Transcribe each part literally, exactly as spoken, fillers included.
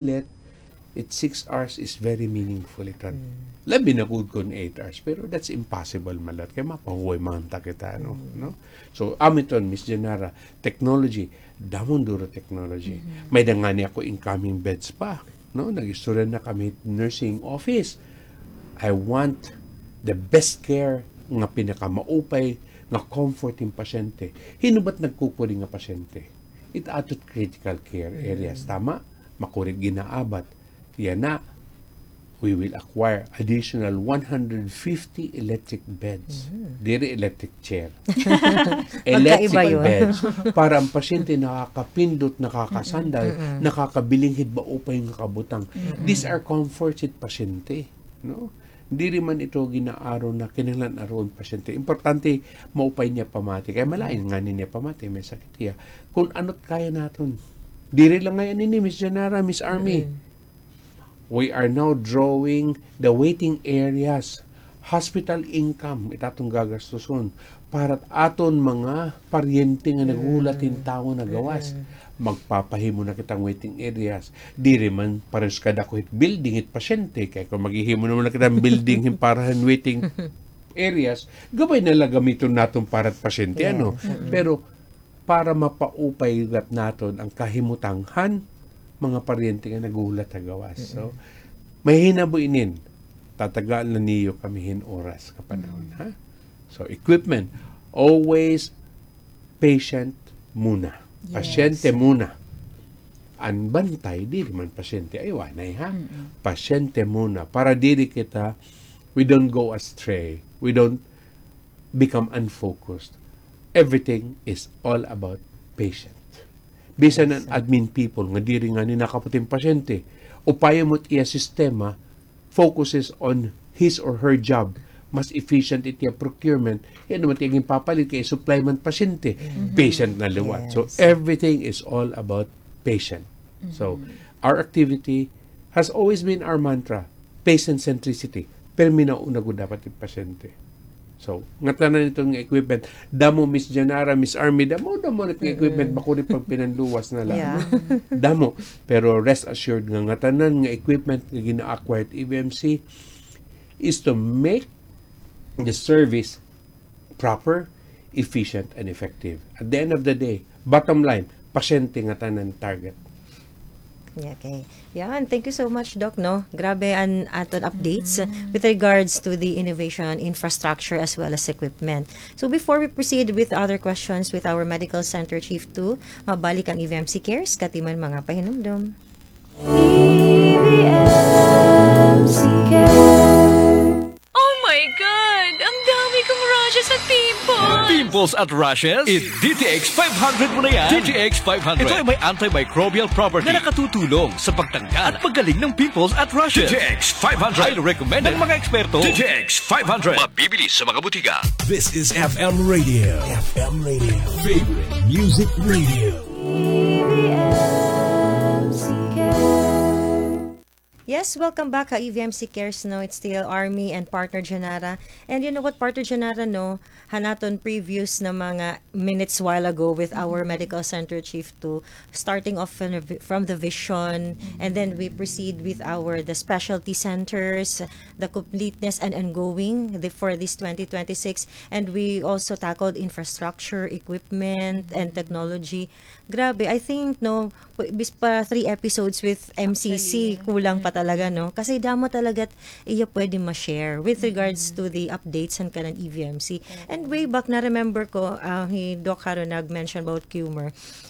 let it six hours is very meaningful iton. Mm. Labi na gud kon eight hours, pero that's impossible, malat, kay mapahuway man ta kita, no? Mm. No? So, amo iton, Miss Janara, technology, damo duro technology. Mm-hmm. May-ada ngani ako incoming beds pa, no? Nag-istorya na kami nursing office. I want the best care nga pinakamaupay nga comfort hin pasyente. Hin-o ba it nagkukuri nga pasyente? It ato it critical care areas, tama? Makuri it ginaabat. Yana, we will acquire additional one hundred fifty electric beds. Mhm. Diri electric chair. Electric beds. Para an pasyente nakakapindot, nakakasandal, nakakabiling hit maupay nga kabutang. These are comforts hit pasyente, no? Diri man ito ginaaro na kinahanglan aron pasyente. Importante, maupay niya pamati. Kay malain ngani niya pamati, may sakit hiya. Kon ano it kaya naton. Diri la ngay-an ini, Miss Janara, Miss Army. Mm. We are now drawing the waiting areas. Hospital income, it aton gagastuson. Para it aton mga paryente nga naghuhulat hin tawo na gawas. Mm. Magpapahimo na kita hin waiting areas. Diri man parehas kadako hit building hit pasyente. Kay kon maghihimo naman na kita hin building hin para hin waiting areas, gamay na la gamiton naton para hit pasyente, ano? Yes. Mm-mm. Pero para mapaupay gad naton an kahimutang han mga paryente nga naghuhulat ha gawas. So, mahinabo inin, tatagaan la niyo kami hin oras, kapanahon, ha? So, equipment, always patient muna. Yes. Pasyente muna. An bantay, diri man pasyente, ay, wanay, ha? Mm-mm. Pasyente muna. Para diri kita, we don't go astray. We don't become unfocused. Everything is all about patient. Bisan an admin people nga diri ngani nakaputong pasyente, upayon mo it iya sistema, focuses on his or her job, mas efficient it iya procurement, kay ano man it iya ginpapalit kay supply man pasyente, patient na liwat. So, everything is all about patient. So, our activity has always been our mantra, patient centricity. Pero minauna gud dapat it pasyente. So, ngatanan iton nga equipment. Damo, Miss Janara, Miss Army, damo, damo na it nga equipment, makuri pagpinanluwas na la. Yeah. Damo. Pero rest assured nga ngatanan nga equipment nga gina-acquire it E V M C is to make the service proper, efficient, and effective. At the end of the day, bottom line, pasyente ngatanan target. Okay. Yan. Thank you so much, Doc, no? Grabe an aton updates with regards to the innovation, infrastructure, as well as equipment. So before we proceed with other questions with our Medical Center Chief two, mabalik an E V M C Cares, katiman mga pahinumdom. E V M C Cares. Oh my God! Ang dami kong rashes at pimples! Pimples at rashes? Eat D T X five hundred mo na yan. D T X five hundred. Ito ay may antimicrobial property na nakatutulong sa pagtanggal at paggaling ng pimples at rashes. D T X five hundred. Highly recommended ng mga eksperto. D T X five hundred. Mabibili sa mga butika. This is F M Radio. F M Radio. Favorite music radio. E V M C Cares. Yes, welcome back ha E V M C Cares, no? It's still Army and partner Janara. And you know what, partner Janara, no? Han aton previous na mga minutes while ago with our medical center chief two, starting off from the vi-, from the vision, and then we proceed with our, the specialty centers, the completeness and ongoing the, for this twenty twenty-six. And we also tackled infrastructure, equipment, and technology. Grabe, I think, no, pw-, bis pa three episodes with M C C, kulang pa talaga, no? Kasi damo talaga it iya pwede ma-share with regards to the updates han kanan E V M C. And way back, na-remember ko, ah, hi Doc Haro nag-mention about Cumur.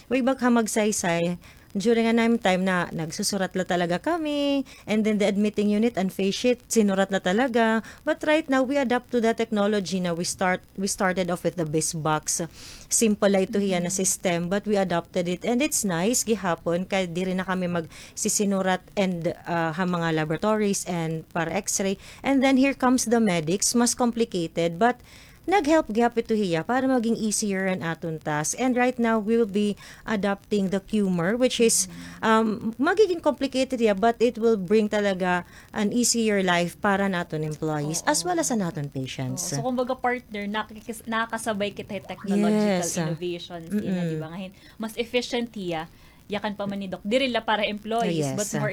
Way back ha Magsaysay, during an time na nagsusurat la talaga kami, and then the admitting unit, an face sheet, sinurat la talaga. But right now, we adapt to the technology na we start we started off with the BizBox. Simple la ito hiya na system, but we adopted it. And it's nice, gihapon, kay diri na kami magsisinurat and, ah, ha mga laboratories and para X-ray. And then here comes the medics, mas complicated, but nag-help gihap ito hiya para maging easier an aton task. And right now, we will be adopting the Cumur, which is, um, magiging complicated hiya, but it will bring talaga an easier life para naton employees as well as sa naton patients. Oo. So, kumbaga, partner, nakikis-, nakakasabay kita sa technological innovations din, di ba? Ngayon, mas efficient hiya yakan pa man ni Doc. Diri la para employees, Yes. but more